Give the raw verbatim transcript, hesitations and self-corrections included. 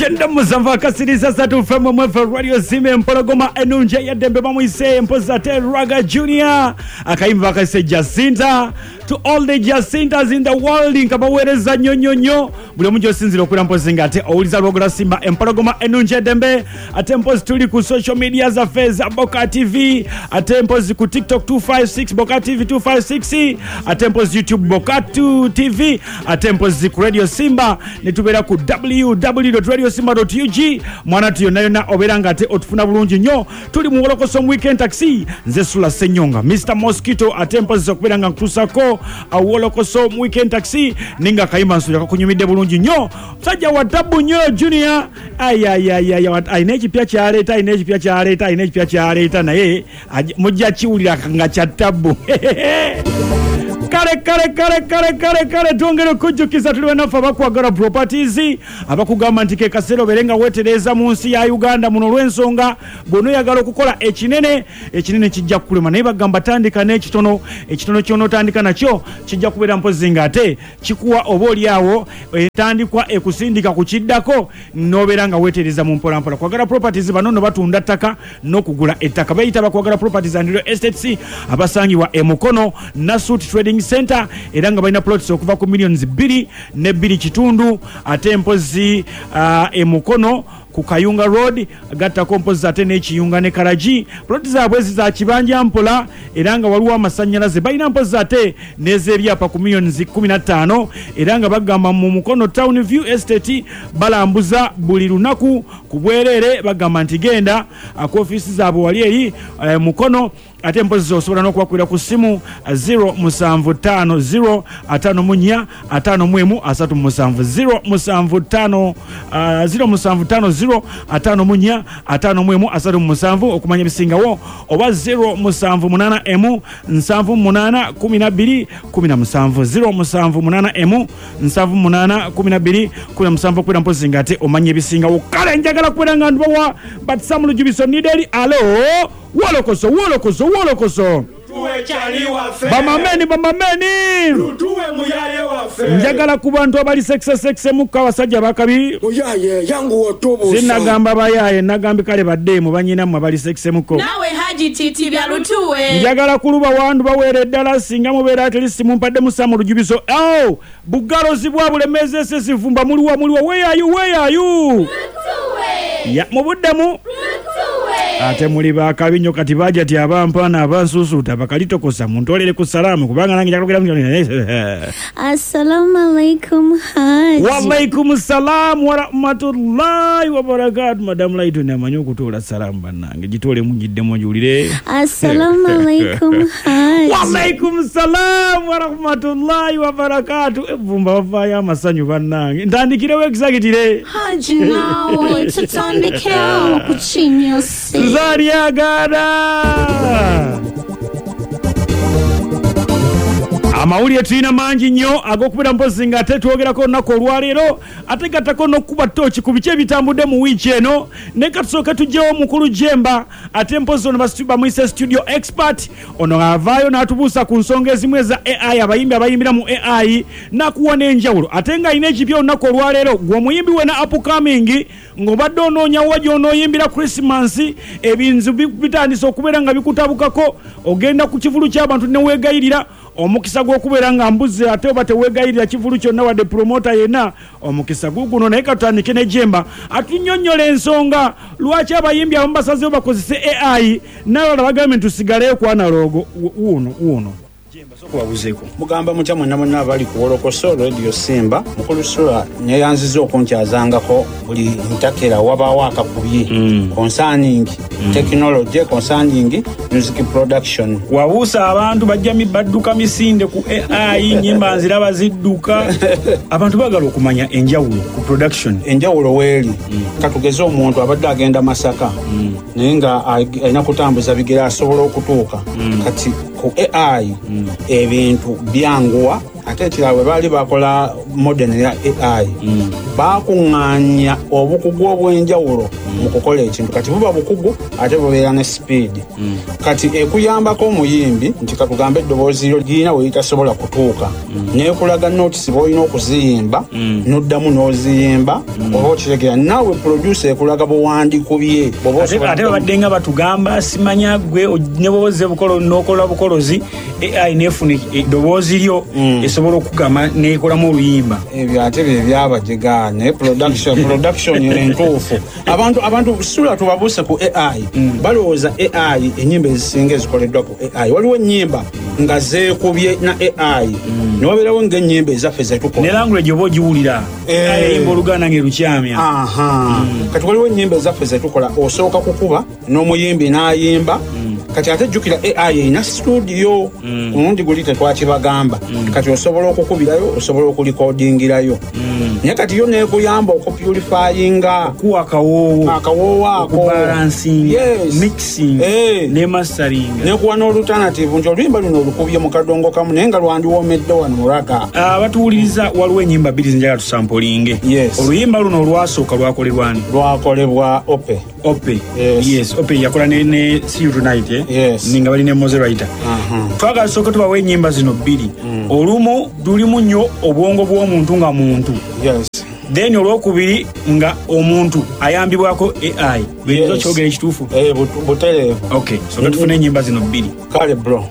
Kyenda musanvu akasiriza satu fm mwefe Radio Simba Empologoma enunje yaddembe bamuyise mpozi ate Raga Junior akayimba bakayise Jacinta. To all the Jacintas in the world, nkabaweereza nnyo nnyo nnyo buli omu gy'osinziira okubeera mpozi nga ate owuliza Lwogola Simba Empologoma enunje eddembe. Ate mpozi tuli ku social media zaffe za Boka T V, ate mpozi ku TikTok two five six Boka T V two five six, ate mpozi YouTube Boka two T V, ate mpozi ku Radio Simba ne tubeera ku w w w dot radio simba dot u g. Mwana tu yonna yonna obeera nga ate otufuna bulungi nnyo. Tuli mu Wolokoso Weekend Taxi, nze Sula Ssenyonga Mister Mosquito, ate mpozi okubeera nga nkutuusako Wolokoso Weekend Taxi ninga kayimba nsuula kakunyumidde bulungi nnyo. Musajja wa tabu nnyo Junior, ayayayaya, alina ekipya kyaleeta, alina ekipya kyaleeta, alina ekipya kyaleeta, naye mujja kiwulira nga kya tabu. Kale kale kale kale kale kale twongere okujjukiza tuli bannaffe abakwagala properties abakugamba nti ke kaseera obeere nga weetereeza mu nsi ya Uganda muno olw'ensonga bw'onooyagala okukola ekinene, ekinene kijja kukulema, naye bagamba tandika n'ekitono, ekitono ky'onootandika nakyo kijja kubeera mpozi ng'ate kikuwa oba oli awo etandikwa ekusindika ku kiddako n'obeera nga weetereeza mu mpolampola. Kwagala properties bano nno batunda ttaka n'okugula ettaka, beeyita Bakwagala Properties and Real Estates abasangibwa e Mukono Nasut Trading Center, era nga balina plots okuva ku millions bbiri ne bbiri kitundu, ate mpozi uh, e Mukono ku Kayunga Road gattako mpozi ate n'ekiyunga ne Karagi. Plot zaabwe za kibanja mpola era nga waliwo amasannyalaze, balina mpozi ate n'ez'ebyapa ku millions kumi na ttaano, era nga bagamba mu Mukono Town View Estate balambuza buli lunaku ku bwereere, bagamba nti genda ku ofiisi zaabwe wali eri eh, Mukono. Ate mpozi osobola n'okubakwira ku ssimu zero musanvu ttaano zero ataano mu nnya ataano mu emu asatu mu musanvu zero musanvu ttaano zero musanvu ttaano zero ataano mu nnya ataano mu emu asatu mu musanvu okumanya ebisingawo, oba zero musanvu munaana emu nsanvu munaana kumi na bbiri kumi na musanvu zero musanvu munaana emu nsanvu munaana kumi na bbiri kumi na musanvu okubeera mpozi nga ate omanya ebisingawo. Kale njagala kubeera nga ndubawa Batsamu Lujubiso Nideri. Alo Wolokoso, wolokoso, wolokoso. Bamameni, bamameni. Njagala ku bantu abali sexe sexe mukka abasajja bakabi. Sinagamba bayaye, nagambye kale baddeemu banyinammwe abali sexe mukko. Nawe Haji Titi bya lutuwe. Njagala kuluba wandu baweere ddala singa mubeera at least mumpadde musamu Lujubiso. Oh, bugalozi bwa Bulemezi esesivumba muliwa muliwa where are you, where are you? Ya mubuddemu. Ate muli bakabi nnyo kati bajja ti abampaana abansuusuuta bakalitokosa muntolere ku salaamu kubanga nange njakulira. Assalamu alaikum Haji. Wa alaikum salam wa rahmatullahi wa barakatuh. Madam Laitoni amanyi okutuula salaamu bannange, gitoole mungiddemu njiwulire. Assalamu alaikum Haji. Wa alaikum salam wa rahmatullahi wa barakatuh. Evvumba bavaayo amasanyu bannange, ntandikirewo exagitire Haji naawe tutandikewo ku kinyusi. Zaryagana. Amawulire tulina mangi nnyo ag'okubeera mpozi nga ate twogerako olunaku olwaleero, ate gattako n'okukuba ttooki ku biki ebitambudde mu wiiki eno. Naye ka tusooke tuggyewo omukulu Jemba, ate mpozi ono bamuyise studio expert. Ono avaayo n'atubuusa ku nsonga ezimu eza A I, abayimbi abayimbira mu A I n'akuwa n'enjawulo, ate ng'alina ekipya olunaku olwaleero. Gwe omuyimbi wena upcoming ng'obadde onoonya wa gy'onooyimbira Christmas, ebintu bitandise okubeera nga bikutabukako, ogenda ku kivulu ky'abantu ne weegayirira omukisa gw'okubeera nga mbuzi, ate oba teweegayirira kivulu kyonna wadde promota yenna, omukisa guguno. Naye katutandike ne Jemba atunnyonnyola ensonga lwaki abayimbi abamu basazeewo bakozese A I n'abalala bagambe nti tusigaleyo ku analogo. Wuuno wuuno Okubabuzeeko mugamba mutya mwenna mwenna abali ku Wolokoso Radio Simba. Mukulu Sula neyanziza okunkyazangako buli ntakera wabaawo akakubye concerning technology, concerning music production. Wabuusa abantu bajja badduka misinde ku A I, nnyimba nziraba zidduka. Abantu baagala okumanya enjawulo ku production. Enjawulo weeri katugeze omuntu abadde agenda Masaka naye nga alina kutambuza bigere asobola okutuuka. Kati ku A I ebintu byanguwa Ate ekirala, bwe baali bakola model ya A I, bakuŋŋaanya obukugu obw'enjawulo mu kukola ekintu. Kati buba bukugu ate bubeera ne speed. Kati ekuyambako omuyimbi nti katugambe eddoboozi lyo lirina we litasobola kutuuka, nekulaga notes bw'olina okuziyimba, n'oddamu n'oziyimba, oba okitegera. Naawe producer ekulaga buwandikubye bw'oba Ate osobola ate babadde nga batugamba, simanya gwe o- ne bwoze bukolo n'okola bukolozi, A I nefuna eddoboozi lyo, esobola okugamba nekolamu oluyimba. Ebyo ate bye byabajega, naye production production entuufu, abantu abantu sula tubabuuse ku A I, balowooza A I, ennyimba ezisinga ezikoleddwa ku A I, waliwo ennyimba nga zeekubye na A I, newabeerawo ng'ennyimba ezaffe Ne zetukola. Language oba ogiwulira, Eh. ayimba oluganda ng'erukyamya. Aha, kati waliwo ennyimba ezaffe zetukola, osooka kukuba n'omuyimbi n'ayimba. Kati ate jjukira A I erina studio, ku mulundi guli tetwakibagamba. Kati osobola okukubirayo, osobola okulikodingirayo, naye kati yo nekuyamba okupurifyinga kuwa akawoowo, akawoowo ako, okubalansinga, Yes. mixing Eh. ne mastering. Nekuwa n'alternative nti oluyimba luno olukubye mu kadongo kamu, naye nga lwandiwoomedde wano mu ragga. Abatuwuliriza, waliwo ennyimba bbiri zenjagala tusampolinge. Yes. Oluyimba luno olwasooka lwakolebwani? Lwakolebwa Ope. Ope. Yes. Yes, Ope yakola ne, ne See You Tonight, eh? Yes. Ninga bali ne Moze Writer. Twagala tusooke tubawe ennyimba zino bbiri. Olumu lulimu nnyo obwongo bw'omuntu nga muntu, yes then olwokubiri nga omuntu ayambibwako A I. Buyinza Yes. okyogera ekituufu? Eh, butereevu. Okay, soka tufune ennyimba zino bbiri. Kale bro.